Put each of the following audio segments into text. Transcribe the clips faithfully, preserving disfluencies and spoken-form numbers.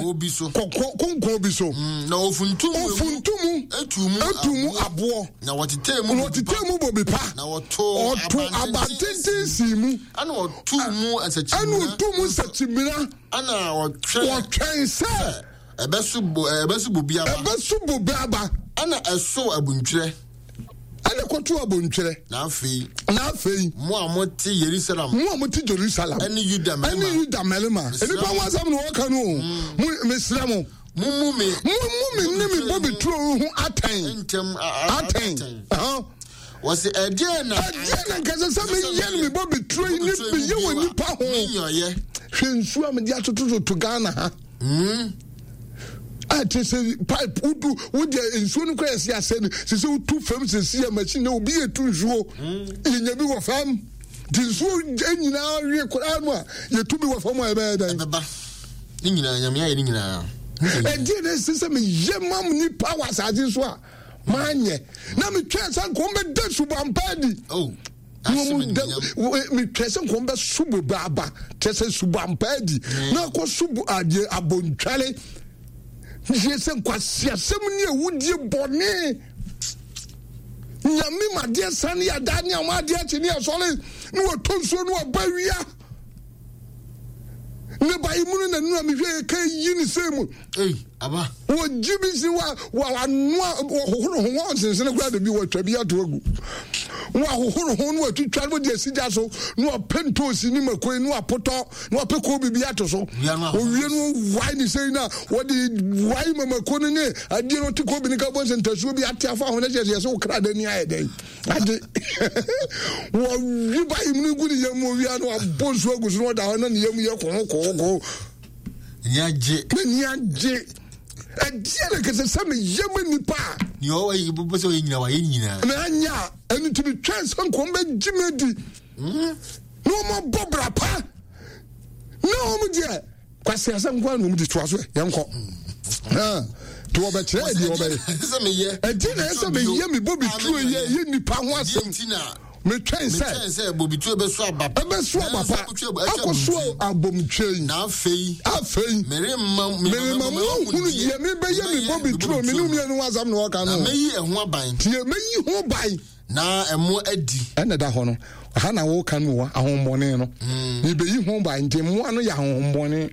Kokoɔ bi so. Kɔkɔ konkɔn bi so. Mm, na ofuntum mu. Ofuntum mu. Etu mu. Etu mu aboɔ. Na wɔtetɛɛ mu. Na wɔtetɛɛ mu bobe pa. Na wɔtoo Ɔto abantenten sii mu. Ɛna ɔtuu mu nsakyimena. Ɛna ɔtuu mu nsakyimena. Ɛna ɔtwɛn. Wɔtwɛn sɛ. Ɛbɛso bo ɛbɛso bobe aba. Ɛbɛso bobe aba. Ɛna ɛsoo abuntwerɛ. Ɛna kɔto abontwerɛ. Na afei. Na afei. Mo a mote Yerusalem. Mo a mote Jerusalem. Ɛne Yuda mmarima. Ɛne Yuda mmarima. Nnipa ho asɛm na wɔka no o. Mm. Mo mesrɛ mo. Mummu me. Mummu me ne me bobe turo ho atɛn. Ntɛm atɛn. Wɔsi ɛdeɛ na. Ɛdeɛ na nkɛsɛ sɛ meyɛ no me bobe turo yi ne meyɛ wɔ nipa ho. Hwɛ nsuo a mede atotototo Ghana ha. Mm. A kyerɛ sɛ pipe wodu wodeɛ nsuo no kora yɛsi asɛ no sɛ sɛ wotu fam sɛsi a machine na obi yɛ tu nsuo yɛnya bi wɔ fam nti nsuo nyinaa wie koraa no a yɛtu bi wɔ fam a ɛbɛyɛ dɛn ɛbɛba ne nyinaa Nyame ayɛ ne nyinaa. Ɛdeɛ na ɛsɛ sɛ meyɛ ma nipa wɔ asase so a manyɛ na metwɛn sɛ nka wɔbɛda subampa adi. Oh. Metwɛn sɛ nka wɔbɛso bobe aba kyerɛ sɛ subampa adi na akɔ so adeɛ abontwale yɛ sɛ nkwaseasɛm ne awudie bɔne. Nyame ma adeɛ sane yɛ adaa ne ama adeɛ akye ne asɔre ne wɔtɔ nsuo ne wɔba wia ne ba yi mu no na nura mehwɛ yɛ ka yi ne sɛ mu wɔgye bi si wa wanoa wɔhohoro ho wɔn sensene koraa de bi wɔatwa bi ato agu wɔahohoro ho ne wɔatwitwa ne wɔde asi gya so ne wɔapɛ ntoosi ne makoi ne wɔapotɔ ne wɔapɛ koobi bi ato so owie no wae ne sɛi na wɔde wae ma mako no ne adeɛ no ɔte koobi no ka bɔ sɛ ntasuo bi ate afa ho no kyerɛ sɛ yɛ sɛ wo kra da ni ayɛ dɛn ade wɔwi ba yi mu no gu ne yam owia no abɔ nsuo agu so na ɔda hɔ na ne yam yɛ kɔkɔkɔ n'ani agye n'ani agye ɛdeɛ na kɛsɛ sɛ meyɛ ma nipa a nea ɔwɔ yi bɛ sɛ ɔyɛ nyina wayɛ nyinaa na anya a ɛno nti metwɛn sɛ nkɔm bɛgye me adi na wɔmabɔ bra pa na wɔn deɛ kwasi asɛm nko ara na wɔn di toa so ɛ yɛn kɔ nti wɔbɛkyerɛ deɛ wɔbɛyɛ ɛdi na ɛsɛ meyɛ me bobi turo yɛ ɛyɛ nipa ho asɛm metwɛn sɛ metwɛn sɛ bobituro bɛso aba pa ɛbɛso aba pa akɔso abomtwe yi na afei afei meremma meremma mo ahunu deɛ mebɛyɛ me bobituro me ne mmienu ho asɛm na wɔka no na mɛyi ɛho aban tie mɛyi ho ban na ɛmo adi ɛna da hɔ no ha na wɔka no wɔ ahohommɔne no mebɛyi ho ban nti mmoa no yɛ ahohommɔne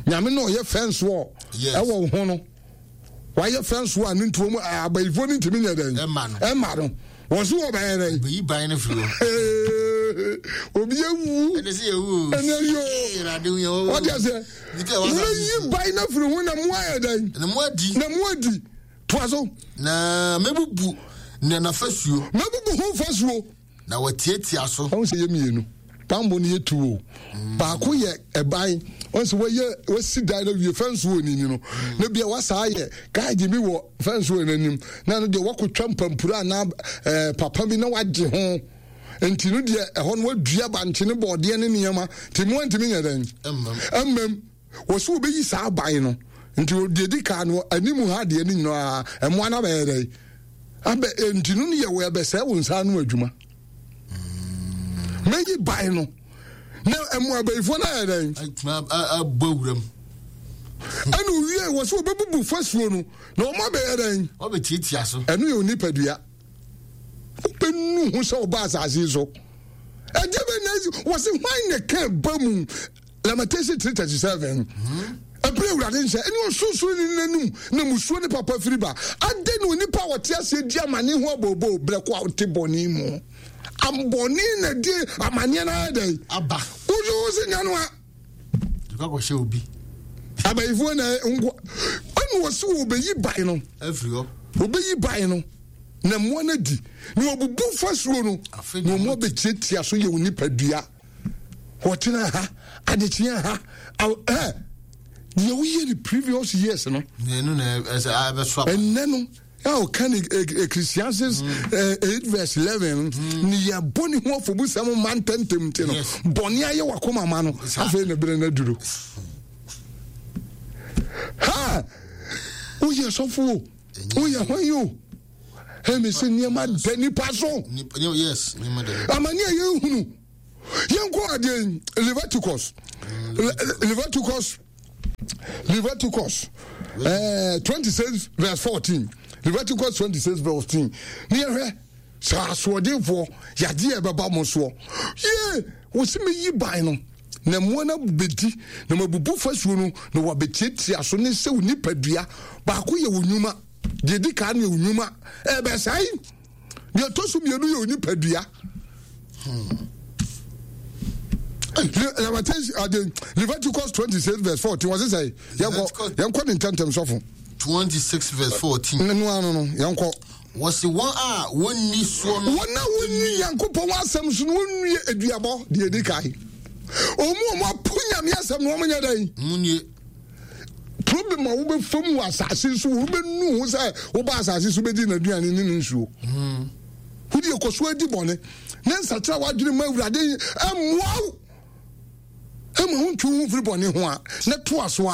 Nyame na ɔyɛ fɛnso ɛwɔ wo ho no wayɛ fɛnso a ne ntuo mu abayifoɔ no ntumi nyɛ dɛn ɛma no wɔn so wɔbɛyɛ dɛn bɛyi ban no firi hɔ obi ewu ɛne sɛ yɛwu ɛne yoo wɔde aseɛ mɛyi ban no firi ho na mo ayɛ dɛn na mo adi na mo adi toa so na mɛbubu na n'afasuo mɛbubu ho fasuo na wɔtiatia so ɔn sɛ yɛ mmienu bambɔ no yɛ tu o baako yɛ ɛban ɔn sɛ wɔyɛ wɔsi dan na wie fɛnso wɔ n'ani no na bia wasa ayɛ gaagye bi wɔ fɛnso wɔ n'anim na no deɛ wakɔtwa mpampuro anaa ɛɛ papa bi na wagye ho nti no deɛ ɛhɔ no wadua bankye ne bɔɔdeɛ ne nneɛma nti mu antumi nyɛ dɛn ɛmmam wɔsi wɔbɛyi saa ban no nti deɛ di kan no anim ha deɛ ne nyinaa ɛmoa no abɛyɛ dɛn abɛ nti no yɛ wɔ ɛbɛsɛe wo nsa ano adwuma mɛyi ban no na ɛmo abayifoɔ no ayɛ dɛn abɔ wuram ɛna owie wɔ sɛ wɔbɛbubu fasuo no na wɔn abɛyɛ dɛn wɔbɛtiatia so ɛno yɛ onipadua wobɛnu ho sɛ wɔba asase yi so ɛdeɛ bɛ na ɛsi wɔ se hwan na ka ba mu Lamentation three thirty seven ɛberɛ Awurade nhyɛ ɛne ɔsorosoro ne n'anum na musuo ne papa firi ba adɛn na onipa a wɔte aseɛ di amane ho abooboo berɛ ko a wote bɔne mu ambɔne na di amaneɛ no ayɛ dɛn aba woso wo se nya no a akɔhyɛ obi abayifoɔ na nko ɛne wɔ se wɔbɛyi ban no afiri hɔ wɔbɛyi ban no na mmoa no adi na wɔbubu fasuo no na wɔn abɛtiatia so yɛ wo nipadua wɔtena ha adekyea ha ɛ deɛ woyɛ ne previous years no ɛnɛ no a ɔka ne Ecclesiastes eight verse eleven ne yɛ bɔ ne ho afɔbusɛm ma ntɛntɛm nti no bɔne ayɛ wakoma ma no afei ne bere no aduro ha woyɛ sɔfo o woyɛ hwan yi o ɛmi sɛ nneɛma da nipa so amane a yɛhunu yɛnkɔ adeɛ Leviticus Leviticus Leviticus eh, twenty-six verse fourteen. Leviticus twenty-six verse fourteen. Ne yɛhwɛ sɛ asoɔdenfoɔ yadeɛ ɛbɛba mo soɔ. Yee, wɔsi meyi ban no na mmoa no bɛdi na mabubu fasuo no na wɔabɛtiatia so ne sɛ wo nipadua baako yɛ wo nnwuma. Deɛ di kan yɛ wo nnwuma ɛbɛsɛe. Deɛ ɛtɔ so mmienu yɛ wo nipadua. Hmm. Leviticus twenty-six verse fourteen wɔsi sɛ yɛnkɔ yɛnkɔ ne ntɛntɛm sɔfo. twenty-six verse fourteen. Nnu ano no yɛnkɔ. Wɔsi wɔn a wɔnni soɔ no. Wɔn a wɔnni Nyankopɔn asɛm so no wɔnwie aduabɔ deɛ edi kan. Wɔn a wɔn apo Nyame asɛm no wɔn nyɛ dɛn. Wɔn nie. Problem a wobɛfa mu wɔ asase so wobɛnu ho sɛ woba asase so bɛdi n'aduane ne ne nsuo. Wode ɛkɔ so adi bɔne ne nsakyera w'adwene ma Awurade mmoa wo ɛma wontwe wo ho mfiri bɔne ho a na toa so a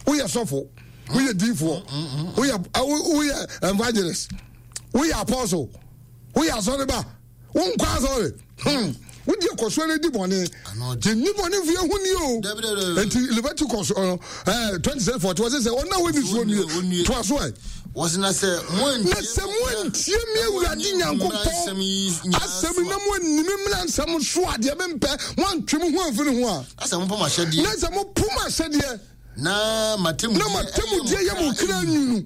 woyɛ sɔfo, woyɛ diifoɔ, woyɛ woyɛ evangelist, woyɛ apostle, woyɛ asɔreba, wonkɔ asɔre. Hmm. Wodi ɛkɔ no di bɔne. Yɛnni bɔne mfo yɛho ni o. Enti Leviticus uh, eh, twenty-seven forty wɔsɛ sɛ ɔna wɔnni soɔ nie. Toa so ɛ. Wɔsi na sɛ mo antie me Awurade Nyankopɔn asɛm na mo anni me mmara nsɛm so a deɛ mempɛ mo antwe mo ho amfiri ho a. Na sɛ mopo m'ahyɛdeɛ. Na sɛ mopo m'ahyɛdeɛ. Na m'atemmudeɛ yɛ mo kra nwunu.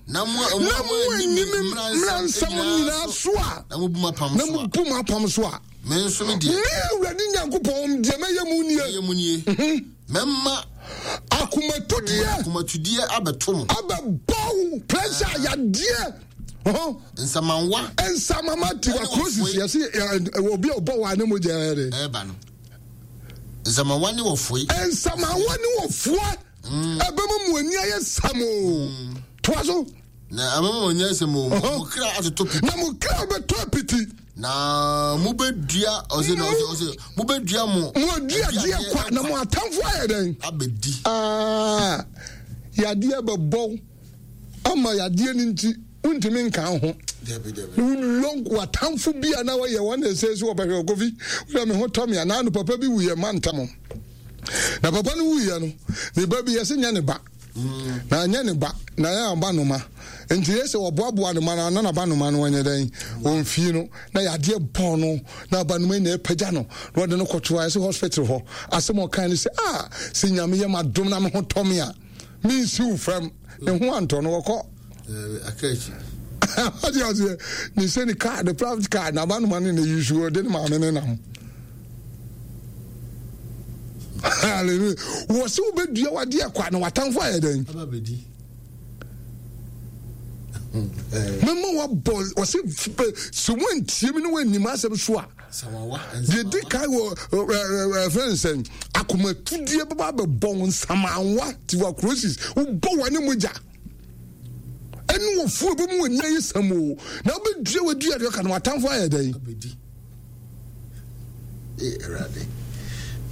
Na mo anni me mmara nsɛm nyinaa so a. Na mo bu m'apam so a. Me nso me deɛ. Me Awurade Nyankopɔn deɛ mɛyɛ mu nie. Mɛyɛ mu nie. Mɛma. Akomatudeɛ. Akomatudeɛ abɛto mo. Abɛbɔ wo pressure yadeɛ. Nsamanwa. Nsamama tuberculosis yɛsi obi a ɔbɔ wa ne mo gya yɛ de. Ɛba no. Nsamanwa ne wɔfoe. Nsamanwa ne wɔfoe. Ɛbɛma mu ani ayɛ samo. Toa so. Na ɛbɛma mu ani ayɛ samo. Mo kra atotɔ piti. Na mo kra bɛtɔ piti. Na mo bɛdua ɔsɛ na ɔsɛ ɔsɛ mo bɛdua mo. Mo adua deɛ kwa na mo atamfo ayɛ dɛn. Abɛdi. Aa yadeɛ bɛbɔ ama yadeɛ no nti wontumi nka ho. Wulong watamfo bi a na wɔyɛ wɔn na ɛsɛ sɛ wɔbɛhwɛ Kofi wura me ho tɔ me anaa no papa bi wuyɛ ma ntam. Na papa no wuyɛ no ne ba bi yɛsɛ nyɛ ne ba. Na nyɛ ne ba na yɛ aba noma. Nti yɛ sɛ wɔboaboa ne ma no na naba noma no wɔnyɛ dɛn wɔmfie no na yadeɛ bɔɔ no na aba noma nyinaa pagya no na wɔde no kɔto ayɛ sɛ hospital hɔ. Asɛm ɔkan ne sɛ ah sɛ Nyame yɛ m'adom na me ho tɔ me a mensiw fam. Ne ho antɔ no wɔkɔ. Ɔde aseɛ ne sɛ ne car ne private car na aba noma no na yi so ɔde ne maame ne nam. Hallelujah. Wɔ sɛ wobɛdua wadeɛ kwa na watamfo ayɛ dɛn. Mɛma wabɔ ɔsɛ sɛ woantie me ne woannim asɛm so a deɛ di kan wɔ ɛfrɛ nsɛn akomatudeɛ bɛba bɛbɔ wo nsamanwa tuberculosis wobɔ w'ane mogya ɛne wɔfuo bɛmu w'ani ayɛ sam o na wobɛdua wadua deɛ ɔka na watamfo ayɛ dɛn.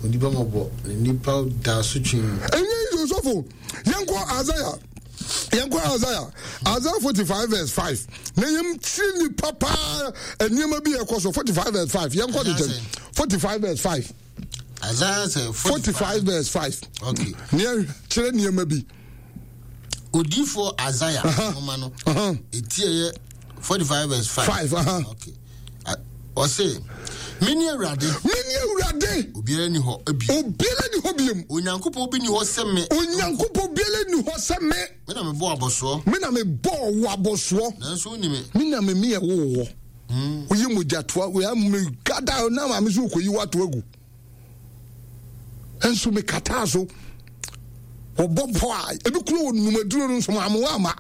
Onipa mɔbɔ ne nipa da so twe. Ɛnyɛ yi sɔfo yɛnkɔ Isaiah. Yɛnkɔ Isaiah. Isaiah forty-five verse five. Na yɛmtiri nipa paa nneɛma bi ɛkɔ so forty-five verse five. Yɛnkɔ de kyɛn forty-five verse five. Isaiah sɛ forty-five verse five. Okay. Nea kyerɛ nneɛma bi. Odiifo Isaiah nwoma no. Eti ɛyɛ forty-five verse five. Five. Uh-huh. Okay. Ɔse, Mene Awurade. Mene Awurade. Obiara ni hɔ bi. Obiara ni hɔ biem. Onyankopɔn bi ni hɔ sɛ me. Onyankopɔn biara ni hɔ sɛ me. Me na mebɔ abɔsoɔ. Me na mebɔ wo abɔsoɔ. Nanso wonni me. Me na me meyɛ wo wɔ. Woyɛ mogyatoa woyɛ me gada na maame so kɔyi wato agu. Nso me kataa so. Wɔbɔ pɔ a ebi kuro wɔ numaduro no nso maamoa ama.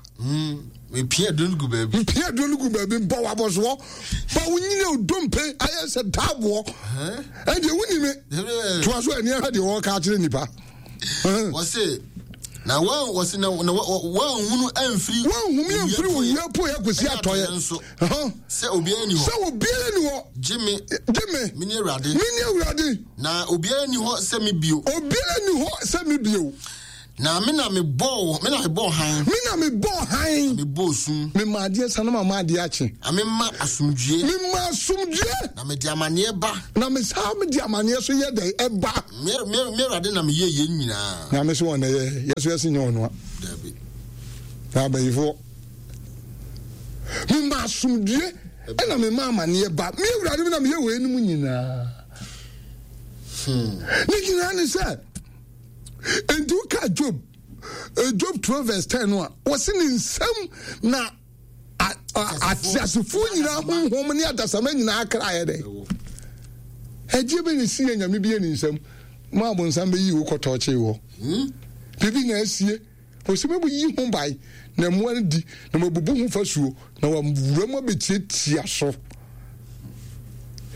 Mpia duro no gu baabi. Mpia duro no gu baabi bɔ wabɔsoɔ. Ba wonyini odompe ayɛ sɛ daaboɔ. Ɛndeɛ wonni me. Toa so ani ahwɛ deɛ wɔka akyerɛ nipa. Wɔse na wɔn wɔse na na wɔn amfiri. Wɔn humi amfiri owia po yɛ kɔsi atɔyɛ. Nso sɛ obiara ni hɔ. Sɛ obiara ni hɔ. Gye me. Gye me. Mene Awurade. Mene Awurade. Na obiara ni hɔ sɛ me bio. Obiara ni hɔ sɛ me bio. Na me na mebɔɔ me na mebɔɔ han. Me na mebɔɔ han. Mebɔɔ sum. Mema adeɛ sa na mama adeɛ akye. Na mema asomdwie. Mema asomdwie. Na mede amanneɛ ba. Na mesaa mede amanneɛ so yɛ dɛn ɛba. Me me me Awurade na meyɛ yɛn nyinaa. Nyame so wɔn na yɛ yɛ so yɛsi nyɛ ɔnoa. Dabi. Na abayifoɔ. Mema asomdwie ɛna mema amanneɛ ba. Me Awurade me na meyɛ wɔ enum nyinaa. Hmm. Ne nyinaa ne sɛ nti woka Job Job twelve verse ten no a wɔsi ne nsam na ateasefoɔ nyinaa honhom ne adasama nyinaa kra yɛ dɛ ɛgye bɛ ne si yɛ nyame bi yɛ ne nsam ma abonsam bɛyi wo kɔtɔɔkye wɔ biribi na asie wɔsi mɛbu yi ho ban na mmoa no di na mabubu ho fasuo na wawura mu abɛtiatia so.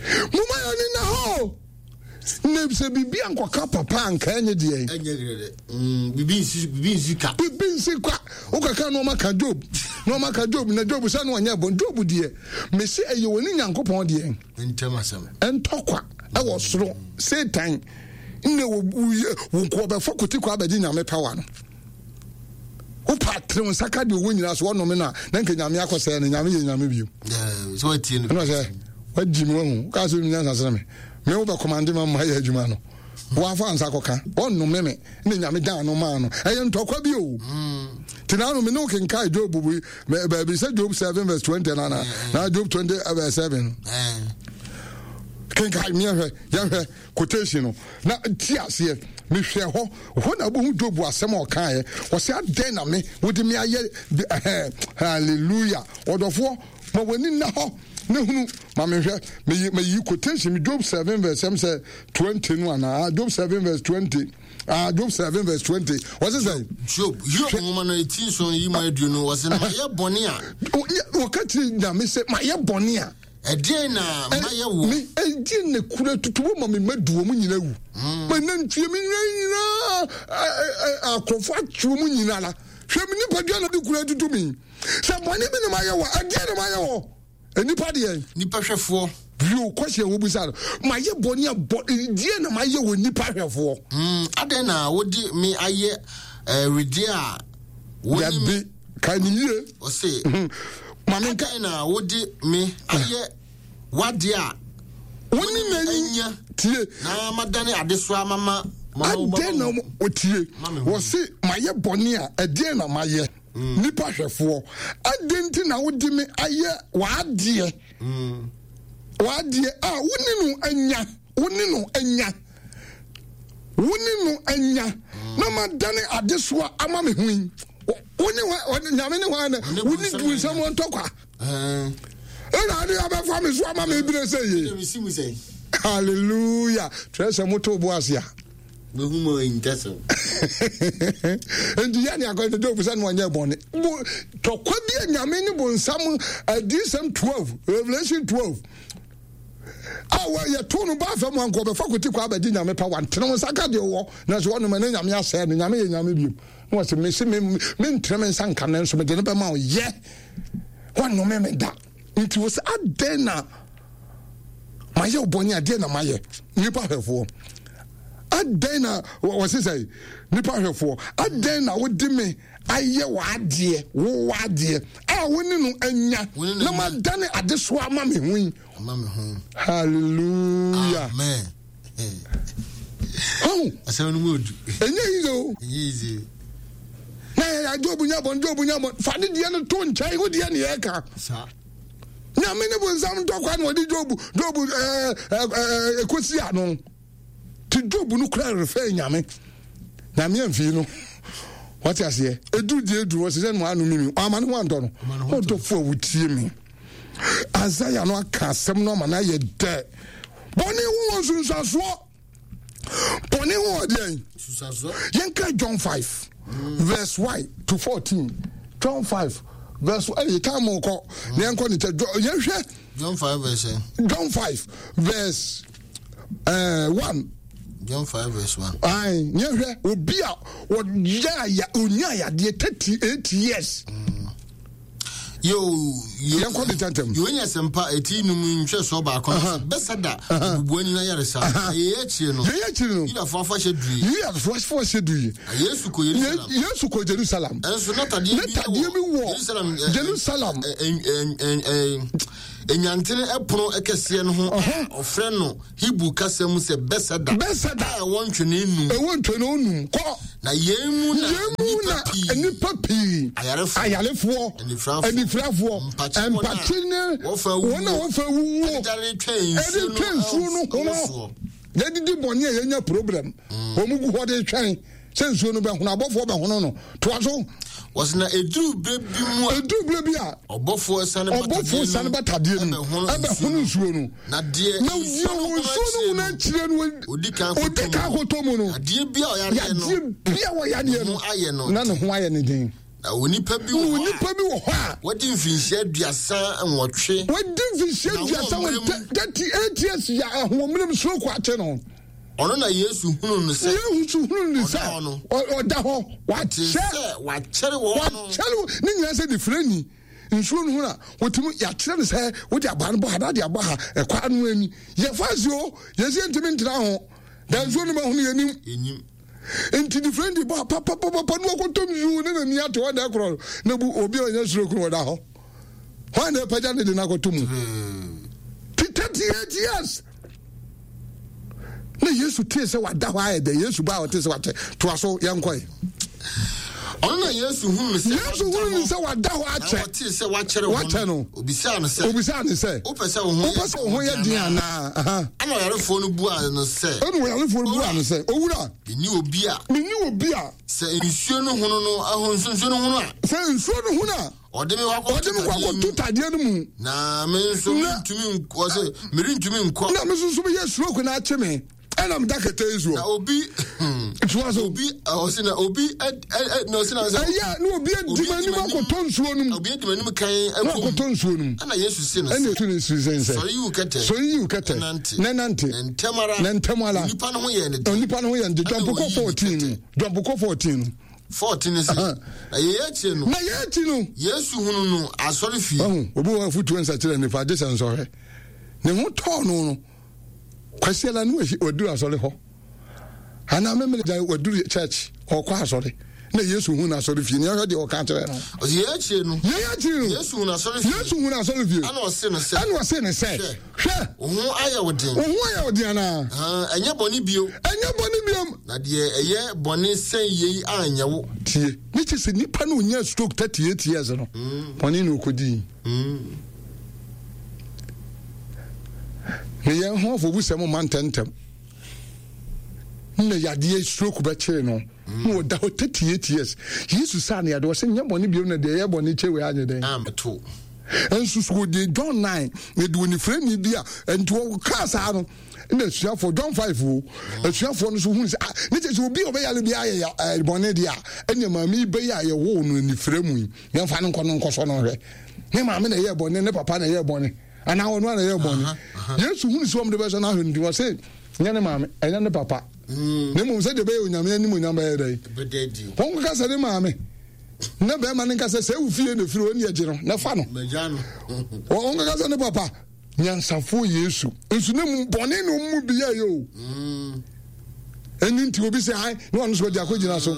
Moma yɛ ne na hɔ na sɛ biribi ankɔka papa anka ɛnyɛ deɛ biribi nsi ka biribi nsi kwa wokaka na ɔma ka Job na ɔma ka Job na Job sɛ na ɔnyɛ bɔn Job deɛ mese ɛyɛ wɔ ne Nyankopɔn deɛ ntɔkwa ɛwɔ soro Satan ne wo nkoa bɛfa kote kwa abɛgye Nyame power no wopa tere wo nsa ka deɛ ɔwɔ nyinaa so wɔnome no a na nka Nyame akɔsɛe no. Nyame yɛ Nyame bio ɛna sɛ wagyi me wahu wokaa sɛ wonim nyansa sene me me wobɛkɔmande ma ma yɛ adwuma no wafa nsa kɔka ɔnnome me ne Nyame dan no maa no ɛyɛ ntɔkwa bi o nti na no me ne wo kenkae Job bi baabi sɛ Job seven verse twenty na na na Job twenty verse seven kenkae meɛhwɛ yɛhwɛ quotation no na ti aseɛ mehwɛ hɔ hɔ na wobɛhu Job asɛm a ɔkaeɛ ɔsɛ adɛn na me wode me ayɛ hallelujah ɔdɔfoɔ ma w'ani nna hɔ ne hunu ma mehwɛ meyi meyi quotation Job seven verse ɛm sɛ twenty no anaa Job seven verse twenty ah Job seven verse twenty wɔsi sɛ. Job Hiob nwoma no eti nson yi mu aduonu wɔsi na mayɛ bɔne a. Wɔka kyerɛ Nyame sɛ mayɛ bɔne a. Ɛdeɛn na mayɛ wɔ. Me ɛdeɛn na kura tutu wɔ ma me ma du wɔn nyinaa wu. Ma nantwie me nyinaa nyinaa akorɔfo akye wɔn nyinaa la hwɛ me nipadua na de kura tutu mi sɛ bɔne bi na mayɛ wɔ ɛdeɛn na mayɛ wɔ. Nipa deɛ. Nipa hwɛfoɔ. Bio kɔsi ɛwɔ bisa no mayɛ bɔne a bɔ deɛ na mayɛ wɔ nipa hwɛfoɔ. Mm, adɛn na wode me ayɛ ɛwedeɛ a wo ne me. Dabi ka ne yie. Ɔse. Maame nka. Adɛn na wode me ayɛ wadeɛ a. Wo ne me anya. Tie. Na madane adesoa mama. Adɛn na wɔtie. Wɔse mayɛ bɔne a ɛdeɛn na mayɛ. Nipa hwɛfoɔ adɛn nti na wode me ayɛ w'adeɛ w'adeɛ a wo ne no anya wo ne no anya wo ne no anya na madane adesoa ama me ho yi wo ne Nyame ne hwan na wo ne du nsɛm ntɔkwa ɛna ade abɛfa me so ama me bere sɛ ye hallelujah kyerɛ sɛ moto bo ase a nti yɛ ne akɔyɛ Job sɛ ne ɔnyɛ bɔne tɔkwa bi a Nyame ne bonsam adiyisɛm twelve Revelation twelve a yɛto no ba fam anka ɔbɛfa kɔti kɔ abɛgye Nyame pa wantene wo nsa ka deɛ ɔwɔ nanso wɔnom ɛne Nyame asɛe no Nyame yɛ Nyame biom na wɔsɛ mese mentene me nsa nka no nso mede no bɛma wo yɛ wɔnnome me da nti wɔ sɛ adɛn na mayɛ wo bɔne adeɛ na mayɛ nnipa hwɛfoɔ adɛn na wɔse sɛ nipa hwɛfoɔ adɛn na wode me ayɛ w'adeɛ wo w'adeɛ a wo ne no anya na madane adesoa ama me ho yi hallelujah amen oh asɛm no mu odu ɛnyɛ yize o ɛnyɛ yize na yɛ Job nya bɔn Job nya bɔn fa ne deɛ no to nkyɛn wo deɛ ne yɛka Nyame ne bonsam ntɔkwa na wɔde Job Job ɛɛ ɛɛ ɛkɔsi ano ti Job no kura refɛ Nyame Nyame amfii no wate aseɛ ɛduru deɛ ɛduru wɔ sɛ sɛ no ano mimi ama ne ho antɔ no ɔdɔfo a wotie me Isaiah no aka asɛm no ama no ayɛ dɛ bɔne ho wɔ nsunsuasoɔ bɔne ho wɔ deɛn yɛnka John five verse one to fourteen John five verse ɛyɛ time kɔ na yɛnkɔ ne kyɛ yɛhwɛ John five verse John five verse uh, one John five verse one. Ayi, yɛhwɛ obi a wɔyɛ aya onya ayadeɛ thirty eight years. Mm. Yo, Yɛnkɔ ne ntɛntɛm. Yohane Asɛmpa eti num nhwɛsoɔ baako no, Bɛsada obubuani no ayaresa. Na yei akyire no, Yei akyiri no, Yudafoɔ afahyɛ duruiɛ. Yudafoɔ afahyɛ duruiɛ. Na Yesu kɔ Yerusalem. Yesu kɔ Jerusalem. Ɛnso na tadeɛ Na bi tadeɛ bi wɔ Jerusalem, ɛ, ɛ, Jerusalem. ɛ, ɛ, ɛ, ɛ, Enwantene ɛpono kɛseɛ no ho a ɔfrɛ no Hebrew kasa mu sɛ Bɛsada. Bɛsada. A ɛwɔ ntwonee num. Ɛwɔ ntwonee num. Kɔ. Na yei mu na Yei mu na nnipa pii. nnipa pii. Ayarefoɔ. Ayarefoɔ. Anifirafoɔ. Anifirafoɔ. Mpakye wɔn a Mpakye ne wɔfa wuo. wɔn a wɔfa wuo. Ɛdedare twɛn nsuo Ɛde no twɛn nsuo no ho no. soɔ. Yɛdidi bɔne a yɛnya problem. Wɔn gu hɔ de twɛn sɛ nsuo no bɛhono, abɔfoɔ bɛhono no. Toa so. Wɔsi na eduru bere bi mu a Eduru bere bi a ɔbɔfoɔ sane ɔbɔfoɔ sane ba tadeɛ no mu ɛbɛhono nsuo no. Na deɛ Na deɛ wɔ nsuo no hono akyire no odi kan odi kan kɔtɔ mu no. Adeɛ bi a ɔyareɛ no Yadeɛ bi a wɔyadeɛ ne ho ayɛ no no na ne ho ayɛ ne den. Na onipa bi Na wɔ hɔ a onipa bi wɔ hɔ a wadi mfinhyia aduasa nwɔtwe. wadi mfinhyia Na aduasa ahoɔmmerɛ wɔ mu. thirty eight years yɛ ahoɔmmerɛ mu stroke akye no. Ɔno na Yesu hunu no sɛ Yesu hunu ne sɛ Ɔda hɔ no. ɔ- ɔda hɔ te wakyɛ sɛ wakyɛre wɔ no. wakyɛre wo- ne nyinaa sɛ nifirani nsuo no ho na wɔtumi yɛakyerɛ no sɛ wode abaa no bɔ ha na ade abɔ ha ɛkwa no ani yɛfa si o yɛsi ntumi ntena ho da nsuo no ma hono yɛnim Enyim. nti nifirani bɔ ha papapapa ne wakɔtɔm nsuo ne n'ani ate hɔ na ɛkorɔ no na bu obi a ɔnyɛ suro kuro ɔda hɔ hwan na ɛpagya ne de no akɔto mu ti thirty eight years na Yesu tee sɛ wada hɔ ayɛ dɛ Yesu ba a ɔte sɛ wakyɛ toa so yɛnkɔe Ɔno na Yesu hunu no sɛ Yesu hunu ne sɛ wada hɔ na akyɛ ɔtee sɛ wakyɛre wɔ Wakyɛ no. Obisaa no sɛ obisaa ne sɛ wopɛ sɛ wo ho wopɛ sɛ wo ho yɛ den anaa Aha. Ɛna ɔyarefoɔ no buaa no sɛ ɛna ɔyarefoɔ no buaa no sɛ owura menni obi a menni obi a sɛ nsuo no hono no aho nsuo nsuo no hono a sɛ nsuo no hono a ɔde me wakɔ ɔde me kɔ akɔto tadeɛ no mu na me nso Na- merentumi nkɔ sɛ merentumi nkɔ na me nso so meyɛ stroke na akye me ɛna meda kɛtɛ yi na soɔ obi toa so obi ɔsi na obi ɛ ɛ na ɔsi na sɛ ɛyɛ na obi adi Obi m'anim adi m'anim- akɔtɔ nsuo no mu obi adi m'anim kan na ɛkɔ mu akɔtɔ nsuo no mu ɛna Yesu si no ɛna sɛ ɛtu ne siri sɛn sɛ sɔre yi wo kɛtɛ sɔre yi wo kɛtɛ na nante na nante na ntɛm ara na ntɛm ara onipa no ho yɛ ne den onipa no ho yɛ nde Ɛna dɔmpokɔ ɔyii ne fourteen no dɔmpokɔ fourteen no fourteen sɛ na yɛyɛ akyire no na yɛ akyi no Yesu hunu no asɔre fie ɔho obi wɔ afotuo nsakyerɛ nifa agye sɛ nsɔhwɛ ne ho tɔɔ no no kwasiala no waduru asɔre hɔ anaa memene gya waduru church ɔkɔ asɔre na Yesu hu no asɔre fie ne ɔhwɛ deɛ ɔka kyerɛ no ɔsi yɛyɛ akyire no yɛyɛ akyiri no Yesu hunu asɔre fie Yesu hu no asɔre fie ɛna ɔse no sɛ ɛna ɔse ne sɛ Hwɛ. hwɛ wo ho ayɛ wo den wo ho ayɛ wo den anaa Ah, ɛnyɛ bɔne bio ɛnyɛ bɔne biom na deɛ ɛyɛ bɔne sɛn yei anyɛ wo tie ne kyɛ sɛ nipa no ɔnya stroke thirty eight years no bɔne na ɔkɔdii ne yɛn ho afɔbusɛm ma ntɛntɛm na yadeɛ stroke bɛkyere no na ɔda hɔ thirty eight years Yesu saa ne yadeɛ ɔsɛ nyɛ bɔne biom na deɛ ɛyɛ bɔne kyɛ wei anyɛ dɛn ambɛto nso so wɔde John nine yɛde onifirani bi a nti wɔkaa saa no na asuafoɔ John five o asuafoɔ no so hunu sɛ ah ne kyɛ sɛ obi a ɔbɛyare bi ayɛ ya- ɛɛ, bɔne deɛ a ɛnna maame yi bɛyɛ a yɛwoo no anifira mu yi yɛmfa no nkɔ no nkɔsɔ no nhwɛ ne maame na ɛyɛ bɔne ne papa na ɛyɛ bɔne anaa ɔno a na ɛyɛ bɔne Yesu hunu sɛ wɔn de bɛsɔ no ahwɛ no nti wɔse nyɛ ne maame ɛnyɛ ne papa na mmom sɛdeɛ ɛbɛyɛ Onyame anim onyam bɛyɛ dɛn bɛda adi wɔn kɔka sɛ ne maame ne bɛrima ne nka sɛ sɛ ewu fie na efiri wɔn ni agye no na fa no magya no wɔn kɔka sɛ ne papa nyansafoɔ Yesu nso ne mu bɔne na ɔmu mu bi yɛ yɛ o ɛni nti obi sɛ han ne wɔn nso wɔde akɔgyina so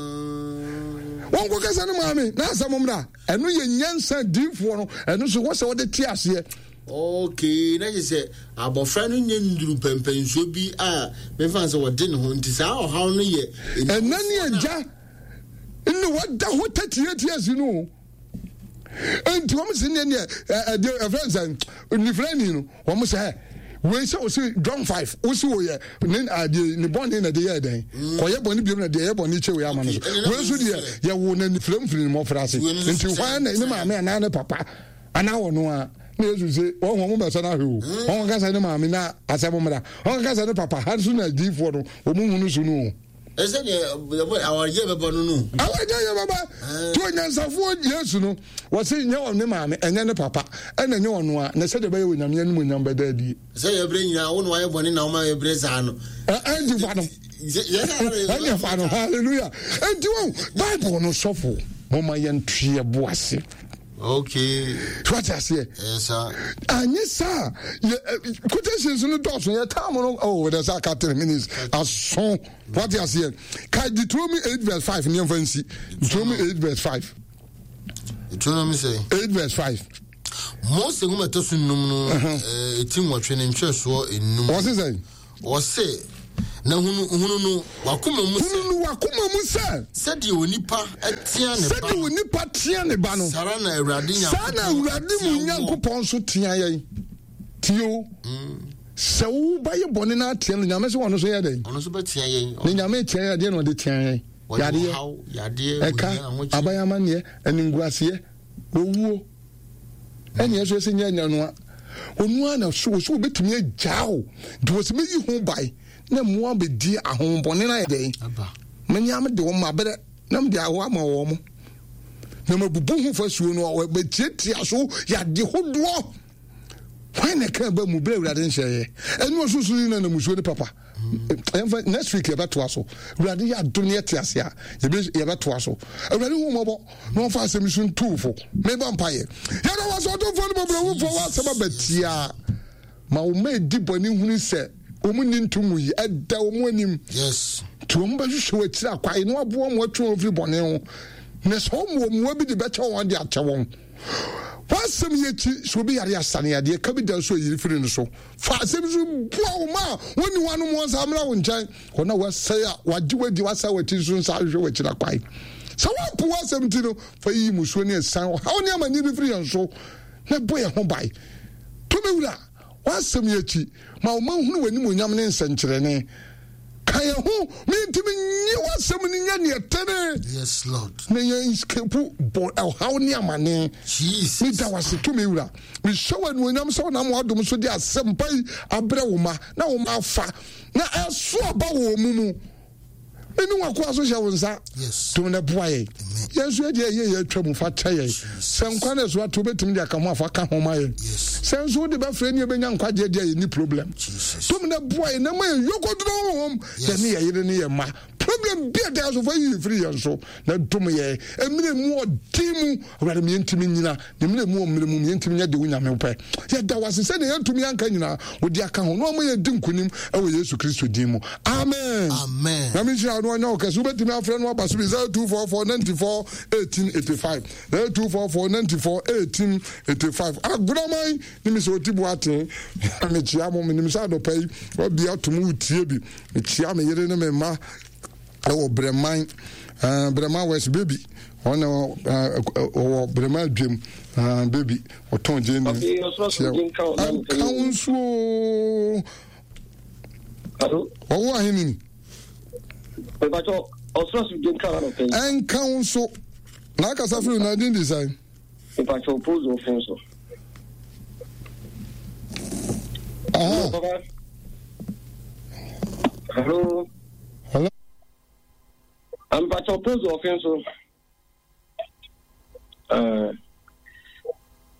wɔn kɔka sɛ ne maame na asɛm mmra ɛno yɛ nyansa diifoɔ no ɛno nso wɔ sɛ wɔde te aseɛ okay na kyerɛ sɛ abɔfra no nyɛ nduru pɛmpɛnsuo bi a mefa sɛ wɔde ne ho nti saa ɔhaw no yɛ ɛnɛ ne agya ne wɔda hɔ thirty eight years no o nti wɔn si ne neɛ ɛdeɛ ɛfrɛ nsɛn nifrɛni no wɔn sɛ wei sɛ wɔsi John five wosi wɔ yɛ ne adeɛ ne bɔne na de yɛ dɛn kɔyɛ bɔne biom na deɛ yɛ bɔne kyɛ wei ama no so wei nso deɛ yɛwo na nifrɛ mfiri ne mmɔfra ase nti hwan na ne maame anaa ne papa anaa wɔn a na Yesu sɛ wɔn wɔn bɛsɛ no ahwɛ o wɔn kasa ne maame na asɛm mmra wɔn kasa ne papa ha nso na adiifoɔ no wɔn hunu so no o ɛsɛ deɛ awaregye bɛba no no awaregye yɛ bɛba tí onyansafoɔ Yesu no wɔsi nyɛ wɔn ne maame ɛnyɛ ne papa ɛna nyɛ wɔn a na sɛdeɛ bɛyɛ Onyame anim onyam bɛda adie. Sɛ yɛbrɛ nyinaa wo na wayɛ bɔne na woma yɛbrɛ saa no ɛnti fa no ɛnyɛ fa no hallelujah. Ɛnti wɔn Bible no sɔfo mo ma yɛn tu yɛ bo ase. Okay. So what I say? Yes sir. Anye sir, quotations no dɔɔso yɛ time no oh there's a three minutes. Aso what I say? Ka Deuteronomy eight verse five ne mfa nsi. Deuteronomy eight verse five. Deuteronomy say eight verse five. Mose nwoma ɛtɔ so nnum no eti nwɔtwe ne ntwerɛsoɔ enum. Wɔse sɛn? Wɔse na hunu hunu no wakoma mu sɛ. Hunu no wakoma mu sɛ. Sɛdeɛ onipa tea ne ba. Sɛdeɛ onipa tea ne ba no. Saa na Awurade Nyankopɔn. Saa na Awurade mu Nyankopɔn nso tea yɛn. Tie o. Sɛ wo ba yɛ bɔne na atea no, Nyame sɛ ɔno nso yɛ dɛn? Ɔno nso bɛtea yɛn. Ne Nyame tea yɛn adeɛ na ɔde tea yɛn. Yadeɛ. Yadeɛ. Ɛka, abayamanneɛ, animguaseɛ, owuo. Ɛne ɛso ɛsɛ nyɛ nyanoa. Onu ana so so obetumi agya o. Nti wɔ sɛ meyi ho ban na mmoa bɛdi ahombɔne no ayɛ dɛn? Menya mede wɔn mabrɛ na mede aho ama wɔn mo. Na mabubu ho fasuo no bɛtiatia so yade hodoɔ. Hwan na ɛka ba mu berɛ Awurade nhyɛeɛ? Ɛne ɔsorosoro yi na namusuo ne papa. Ɛmfa next week yɛbɛtoa so. Awurade yɛ adom ne yɛte ase a yɛbɛtoa so. Awurade hu mmɔbɔ na ɔmfa asɛm so ntuufo. Mebɔ mpayɛ. Yɛda wɔ sɛ ɔdomfoɔ no bɔbrɛwufoɔ wɔ asɛm abatia. Ma wo ma ɛdi bɔne hunu sɛ wɔn ni ntomu yi ɛda wɔn anim. Yes. Nti wɔn bɛhwehwɛ wɔ akyiri akwae na waboa wɔn atwe wɔn firi bɔne ho. Na sɛ wɔn wɔ mmoa bi de bɛkyɛ wɔn de akyɛ wɔn. Wasɛm yɛ akyi sɛ obi yare asane adeɛ ka bi da so ayiri firi no so. Fa asɛm so boa wo ma a wɔnni hɔ anom wɔn nsa mmra wo nkyɛn. Wɔn a wɔasɛe a wɔagye wadi wɔasɛe w'akyi nso nsa ahwehwɛ w'akyiri akwae. Sɛ wɔampo w'asɛm nti no, fa yiyi musuo ne asiane ɔhaw ne amanneɛ bi firi yɛn so na bɔ yɛn ho ban. Tumi wura, w'asɛm yɛ akyi ma wo ma hunu w'animuonyam ne nsɛnkyerɛnne. Ka yɛn ho mentumi nye w'asɛm no nyɛ neɛ tene. Yes Lord. Na yɛn escape bɔ ɔhaw ne amane. Jesus. Meda w'ase tumi wura. Mehyɛ w'animuonyam sɛ wonam w'adom so de asɛmpa yi abrɛ wo ma na wo ma afa na ɛso aba wɔ mu mu. Mene wakoa so hyɛ wo nsa. Tum na boa yɛn. Yɛn nso yɛdeɛ ɛyɛ yɛ atwa mu fa kyɛ yɛn. Sɛ nkwa na ɛso ato wobɛtumi de aka ho afa ka ho ma yɛn. Sɛ nso wode bɛfrɛ ne yɛbɛnya nkwagyeɛ deɛ yɛnni problem. Tum na boa yɛn na ma yɛn yɔkɔduro honhom yɛne yɛ yere ne yɛ mma. Problem bi a da so fa yiyi firi yɛn so na dom yɛn. Mmerɛ mu ɔden mu Awurade me yɛntumi nyina ne mmerɛ mu ɔmmerɛ mu me yɛntumi nyɛ de wo Nyame wopɛ. Yɛda wo ase sɛdeɛ yɛntumi anka nyinaa wode aka ho na ɔma yɛdi nkonim ɛwɔ Yesu Kristo din mu. Amen. Amen. Na menhyira no ɔnyɛ wo kɛse. Wobɛtumi afrɛ no aba so bi zero two four four ninety four eighteen eighty five zero two four four ninety four eighteen eighty five. Agoraman ne me sɛ ɔti boaten. Mekyia mo, menim sɛ adɔpa yi wabia tom wotie bi. Mekyia me yere ne me mma ɛwɔ Breman, uh, Breman West baby. Ɔna ɔwɔ Breman dwam, uh, baby ɔtɔn gye ne kyia nka wo nsuo. Ɔwɔ ahene ni. Ɛnka wo nso na akasa firi na din design. Aha. Hello. Hello. I'm Pacho Pozo Offenso. Uh,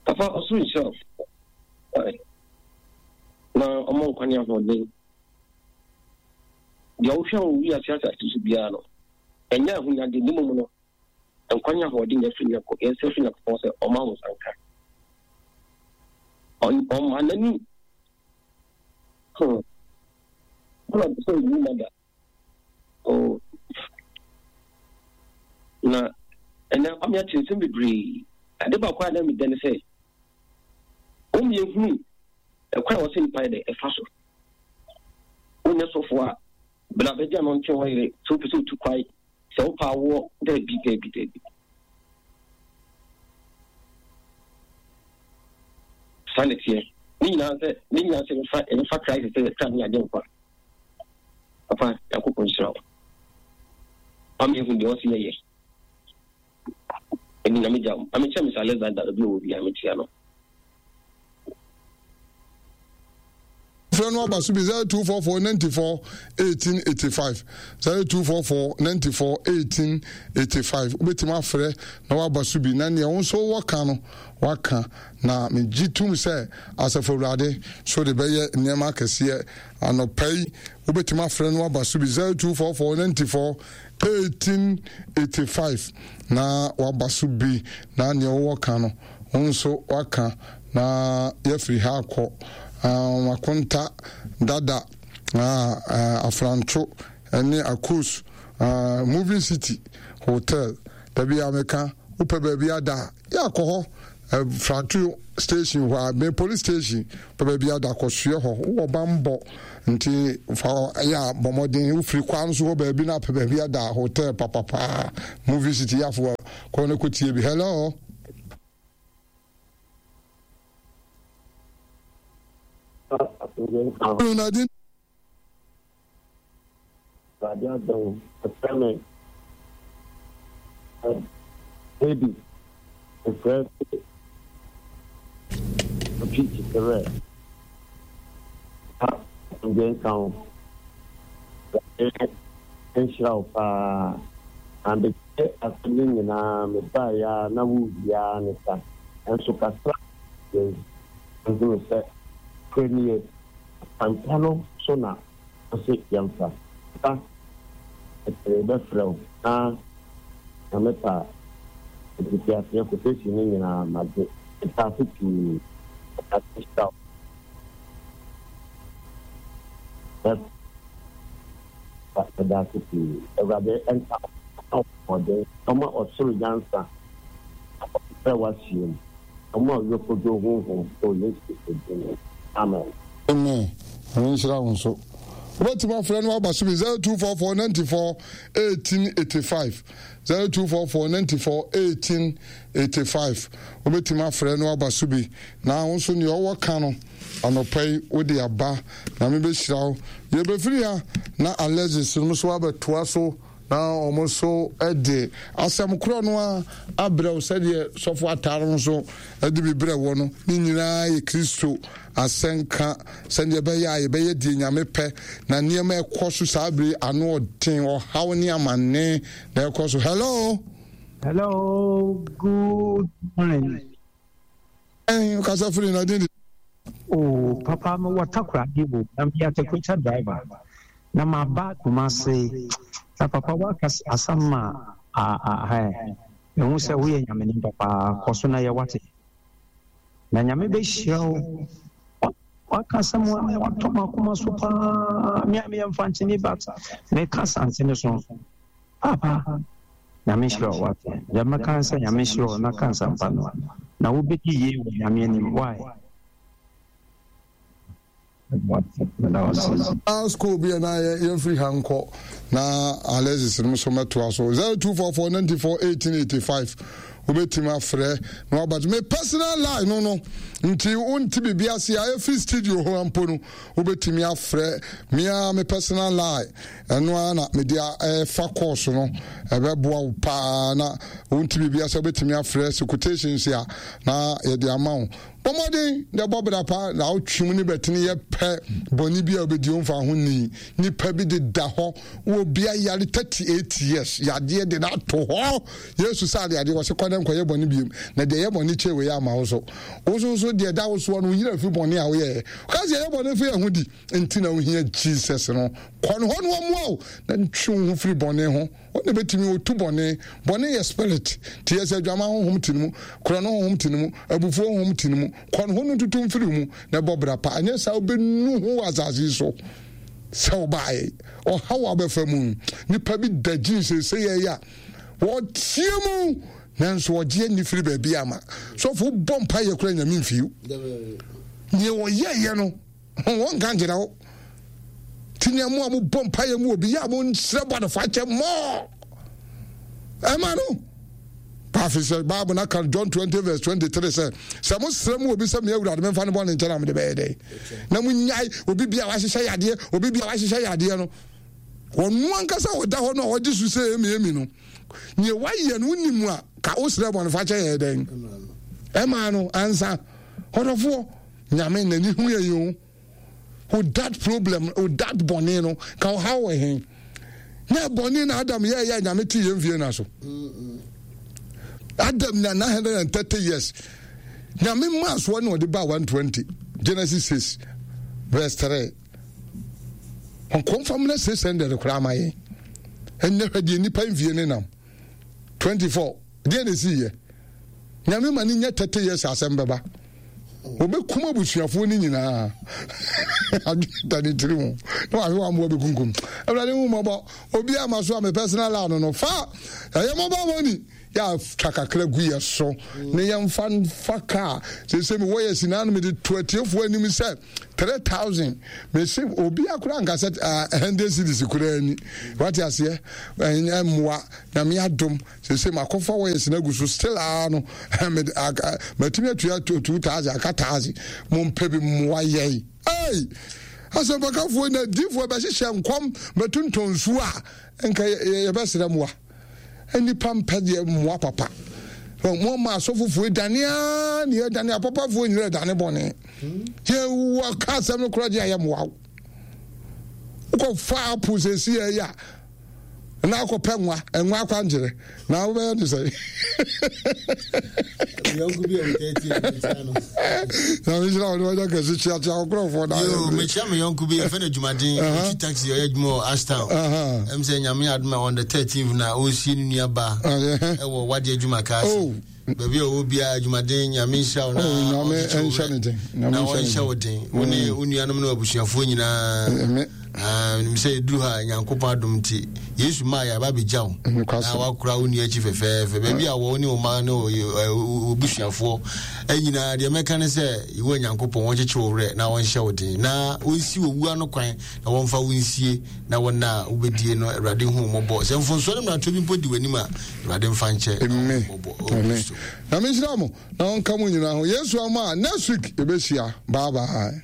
Papa also himself. Na ọmọ nkwa ne ahoɔden. Deɛ wohwɛ wɔ wiase asase so biara no, ɛnyɛ ahonyade ne mmom no, nkwa ne ahoɔden yɛ firi Nyankopɔn, yɛsrɛ firi Nyankopɔn sɛ ɔma wo nsa nka. Ɔma n'ani. Hmm. Ɔna sɛ owu ma da. Oh. Na ɛnɛ ɔme ate nsɛm bebree. Ade baako a na meda ne sɛ, wɔn yɛhunu ɛkwan a wɔsɛ nipa yɛ dɛ ɛfa so. Wonyɛ sɔfo a, bla bɛgya no nkyɛn hɔ yere, sɛ wopɛ sɛ wotu kwae, sɛ wopɛ awoɔ, daabi, daabi, daabi. Saa na ɛteɛ. Ne nyinaa sɛ, ne nyinaa sɛ yɛfa, yɛfa Christ sɛ yɛkra ne yɛagye nkwa. Papa, Nyankopɔn nhyira wo. Ama ehu deɛ ɔse yɛyɛ. Ɛni na megya wo. Amekyɛ Mister Alexander, obi a ɔwɔ bi a mekyia no. afrɛ no aba so bi zero two four four ninety four eighteen eighty five zero two four four ninety four eighteen eighty five wobɛtumi afrɛ na waba so bi na nea wo nso wɔka no waka na megye tom sɛ asafo awurade so de bɛyɛ nneɛma akɛseɛ anɔpa yi wobɛtumi afrɛ no waba so bi zero two four four ninety four eighteen eighty five na waba so bi na nea wowɔ ka no wo nso waka na yɛfiri ha akɔ um, akonta dada uh, uh, afranto ne akos uh, moving city hotel dabi a meka wopɛ baabi ada a yɛakɔ hɔ uh, franto station hɔ a me police station pɛ baabi ada kɔsoɛ hɔ wowɔ bambɔ nti fa yɛ a bɔ mmɔden wofiri kwan so hɔ baabi na apɛ baabi ada hotel papapaa movie city yɛafo kɔ no kɔtie bi hello Nadine Awurade adom, ɛfrɛ me baby, mefrɛ otwi kyekyerɛ ha asomdwe nka wo. Awurade nhyira wo paa. Mabɛtie asɛm no nyinaa, mebaeɛ a na wowie ara ne sa. Nanso kakra yɛn nhunu sɛ korɛ nie, akwampa no so na ɔse yɛmfa. Ba, ɛkyerɛ bɛfrɛ wo na Nyame pa a, mfitiaseɛ quotation no nyinaa magye. Meda ase pii. Awurade nhyira wo. Meda ase pii. Awurade nka wo ahoɔden, ɔma ɔsoro nyansa na ɔmfrɛ w'ahyia mu. Ɔma ɔyɔkodwo honhom wɔ Yesu Kristo din mu. Amen. Amen. Nyame nhyira wo nso. Wobɛtumi afrɛ no aba so bi zero two four four ninety four eighteen eighty five zero two four four ninety four eighteen eighty five wobɛtumi afrɛ no aba so bi na wo nso nea ɔwɔ ka no anɔpa yi wode aba Nyame bɛhyira wo. Yɛbɛfiri ha na Alexis no nso abɛtoa so na wɔn nso de asɛm korɔ no a abrɛ wo sɛdeɛ sɔfo atare no nso de bi brɛ wɔ no ne nyinaa yɛ Kristo asɛnka sɛdeɛ ɛbɛyɛ a yɛbɛyɛ deɛ Nyame pɛ na nneɛma ɛkɔ so saa bere ano ɔden ɔhaw ne amanne na ɛkɔ so. Hello. Hello, good morning. Ɛn kasa firi na din. Oh, papa, me wɔ Takoradi o, na meyɛ atakuta driver. Na maba Kumasi. Na papa waka asɛm a a a ɛ mehu sɛ woyɛ Nyame nipa paa, kɔ so na yɛ wate. Na Nyame bɛhyira wo. Waka asɛm a watɔ m'akoma so paa. Me a meyɛ Mfantsini but meka Asante so. Papa, Nyame nhyira wo wate. Deɛ mɛka ne sɛ Nyame nhyira wo na ka nsɛmpa no. Na wobɛdi yie wɔ Nyame anim. Why? School bi a na yɛmfiri ha nkɔ na Alexis no nso mɛtoa so zero two four four ninety four eighteen eighty five wobɛtumi afrɛ na waba me personal line no no nti wonte biribi ase a ɛfiri studio hɔ mpo no wobɛtumi afrɛ me a me personal line ɛno ara na mede ɛfa course no ɛbɛboa wo paa na wonte biribi ase wobɛtumi afrɛ sɛ quotations a na yɛde ama wo. Bɔ mmɔden na bɔ bra pa na wotwe mu ne bɛtene yɛ pɛ bɔne bi a wobɛdi womfa ho ni nipa bi de da hɔ wɔ bia yare thirty eight years yadeɛ de no ato hɔ Yesu sɛ ade adeɛ wɔse kɔ dɛ nkɔyɛ bɔne biom na deɛ yɛ bɔne kyɛ wei ama wo so wo so so deɛ da wo soɔ no woyera fi bɔne a woyɛɛ ka sɛ yɛyɛ bɔne fa yɛ ho di nti na wohia Jesus no kɔ no hɔ no ɔmmoa wo na ntwe wo ho firi bɔne ho. Wɔn na betumi otu bɔne. Bɔne yɛ spirit. Te yɛ sɛ adwaman honhom te ne mu, korɔno honhom te ne mu, abufuo honhom te ne mu. Kɔ ne ho no ntutu mfiri mu na ɛbɔ bra pa. Anyɛ saa wobɛnu ho wɔ asase yi so sɛ wobaeɛ. Ɔhaw a wobɛfa mu. Nipa bi da gyin seesei yɛ a wɔteɛ mu nanso ɔgye ani firi baabi ama. Sɔfo wobɔ mpa yɛ kora nyame mfiw. Nea wɔyɛeɛ no wɔnka nkyerɛ wo. Nti nea mo a mobɔ mpaeɛ mu obi yɛ a monsrɛ bɔnefakyɛ mmɔ ɛma no paafi sɛ Bible no aka John twenty verse twenty three sɛ sɛ mosrɛ mu obi sɛ me awurade memfa ne bɔne nkyɛ na mede bɛyɛ dɛn na monyae obi bia wahyehyɛ yadeɛ obi bia wahyehyɛ yadeɛ no wɔno ankasa wɔda hɔ no a wɔgye so sɛ emi emi no nea wayɛ no wonim a ka wosrɛ bɔnefakyɛ yɛ dɛn ɛma no ansa ɔdɔfoɔ Nyame n'ani hu yɛn o. With that problem, with that bɔne no, ka ɔhaw wɔ he? Nyɛ bɔne na Adam yɛɛyɛ a Nyame tee yɛn mfie na so. Adam nya nine hundred and thirty years. Nyame maa soɔ na ɔde baa one twenty. Genesis six verse three. Ɔnkɔmfa mmerɛ six hundred koraa ma yɛn. Ɛnyɛ hwɛ deɛ nnipa mfie ne nam. Twenty four. Deɛ na ɛsii yɛ. Nyame ma ne nya thirty years asɛm bɛba. Wɔbɛkum abusuafoɔ no nyinaa. Adwene da ne tiri ho. Na wahwe wɔn aboa bɛkunkum. Awurade hu mmɔbɔ. Obi a ma so a me personal line no fa. Ɛyɛ mobile money. Yɛ atwa kakra gu yɛ so. Ne yɛmfa mfa kaa. Sese me wɔ yɛ si na mede to atiefoɔ anim sɛ three thousand. Mese obi akora nka sɛ uh, hundred cedis koraa ni. Wate aseɛ? Ɛnyɛ mmoa. Nyame adom. Sese makɔfa wires no agu so still aa no matumi atua two thousand aka thousand. Mompɛ bi mmoa yɛn. Ei! Asɛmpakafoɔ na adiifoɔ bɛhyehyɛ nkɔm bɛtontɔn nsuo a nka yɛbɛsrɛ mmoa. Nnipa mpɛ deɛ mmoa papa. Mo ma asɔfofoɔ dane aa ne yɛdane apapafoɔ nyina dane bɔne. Yɛwɔ ka asɛm no koraa gye a yɛmmoa wo. Wokɔfa apo sɛsi yɛ a na akɔpɛ nwa nwa akwankyerɛ na wobɛyɛ ne sɛ na mehyira wo ne wanya kɛse kyeakyea wo nkurɔfoɔ na mekyia me yɔnko bi yɛfɛ no adwumaden ɔtwi taxi ɔyɛ adwuma wɔ Ashtown ɛm sɛ Nyame adom a on the thirteenth na ɔresie ne nua ba ɛwɔ wade adwuma kaa se baabi a ɔwɔ biara adwumaden Nyame nhyira wo na ɔnhyɛ na ɔnhyɛ wo den wo ne wo nuanom ne abusuafoɔ nyinaa menim sɛ ɛduru ha Nyankopɔn adom nti Yesu maa yɛ aba bɛgya wo na wakora wo nua akyi fɛfɛɛfɛ baabi a wɔ ne wo ma ne wo abusuafoɔ nyinaa deɛ mɛka ne sɛ Yehowa Nyankopɔn wɔnkyekye wo werɛ na wɔnhyɛ wo den na wɔnsi owu ano kwan na wɔmfa wo nsie na wɔn a wobɛdie no Awurade hu mmɔbɔ sɛ mfomsoɔ ne mmarato bi mpo di w'anim a Awurade mfa nkyɛ na mmɔbɔ. Nyame nhyira mo na ɔnka mo nyinaa ho. Yesu ama a next week yɛbɛhyia. Bye bye.